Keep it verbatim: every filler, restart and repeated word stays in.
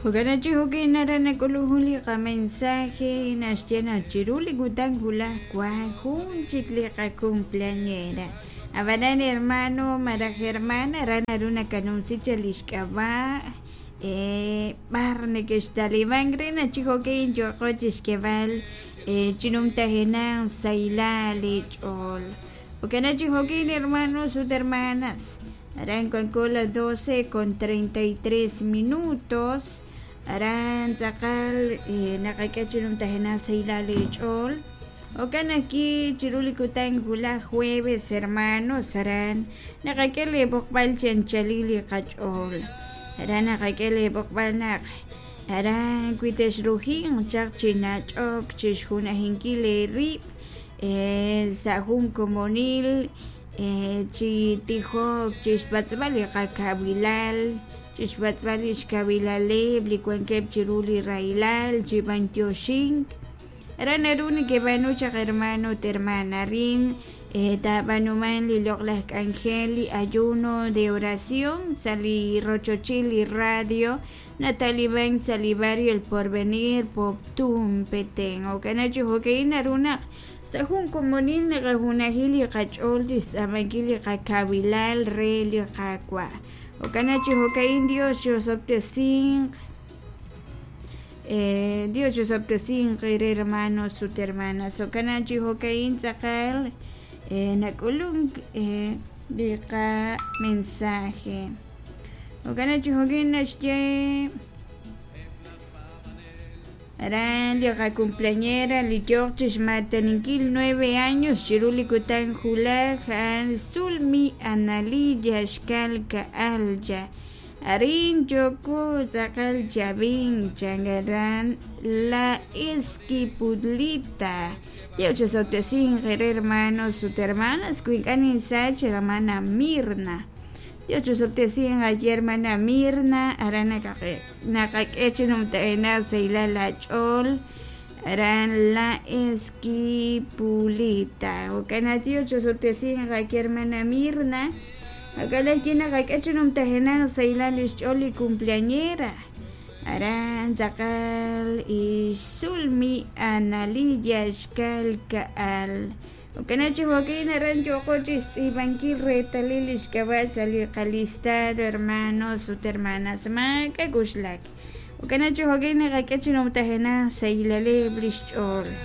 Jo'kan chi jo'kan nara nak'ulun jun li qamensaje naxye naq chiru li kutan wulaj wank jun chik li qacumpleañera. Ab'anan hermano malaj hermana ra naru nakanumsi cha li xk'ab'a' b'ar neke'xtalimank re naq chi jo'kan yooqo chixk'eeb'al chi numtajenaq sahilal li ch'ool. Jo'kan chi jo'kan hermanos ut hermanas aran wanko las doce con treinta y tres minutos aran tz'aqal naqak'e chi numtajenaq sahilal li ch'ool. Jo'kan ajwi' chiru li kutan wulaj jueves hermanos aran naqak'e li b'oqb'al chi anchalil li qach'ool. Aran naqak'e li b'oqb'al naq aran wi texrujinq chaq chi nach'ok chi xjunajinkil eerib' sa' jun komonil chi tijok chi xpatz'b'al li qakawilal chi xpatz'b'al li xkawilaleb' li wankeb' chiru li rahilal chi b'antioxink. Aran naru neke'b'aanu chaq hermano ut hermana rin taab'anuman li loq'laj k'anjel li ayuno de oración sa' li rochochil li radio nataliman sa' li barrio El Porvenir Poptún Petén. Jo'kan chi jo'kan naru naq sa' jun komonil naqajunajil li qach'ool chixtz'aamankil li qakawilal re li Qaawa'. Jo'kan chi jo'kan Dios chosob'tesinq eh, Dios chosob'tesinq re hermanos ut hermanas. Jo'kan chi jo'kan tz'aqal eh, nak'ulunk eh, li qamensaje. Jo'kan chi jo'kan naxye aran li qacumpleañera li yooq chixmataninkil nueve años chiru li kutan wulaj a'an Zulmi Analiya xkal ka'alya. Arin yoko tz'aqal chavin changaran la Esquipudlita. Dios chosob'tesinq re hermanos ut hermanas wi ink'a' ninsach hermana Mirna. Dios chosob'tesinq aye hermana Mirna aran naqak'e chi numtajenaq sahilal la ch'ool aran la Esquipulita. Jo'kan Dios chosob'tesinq aye hermana Mirna. Jo'kan ajwi' naqak'e chi numtajenaq sahilal li xch'ool li cumpleañera. Aran tz'aqal ixsulmi Analiya xkal ka'al. Jo'kan chi jo'kan aran yooqo chixtz'iib'ankil reetalil li xk'ab'a' sa' li qalistado hermanos ut hermanas maak'a' k'uxlak. Jo'kan chi jo'kan naqak'e chi numtajenaq sahilaleb' li xch'ool.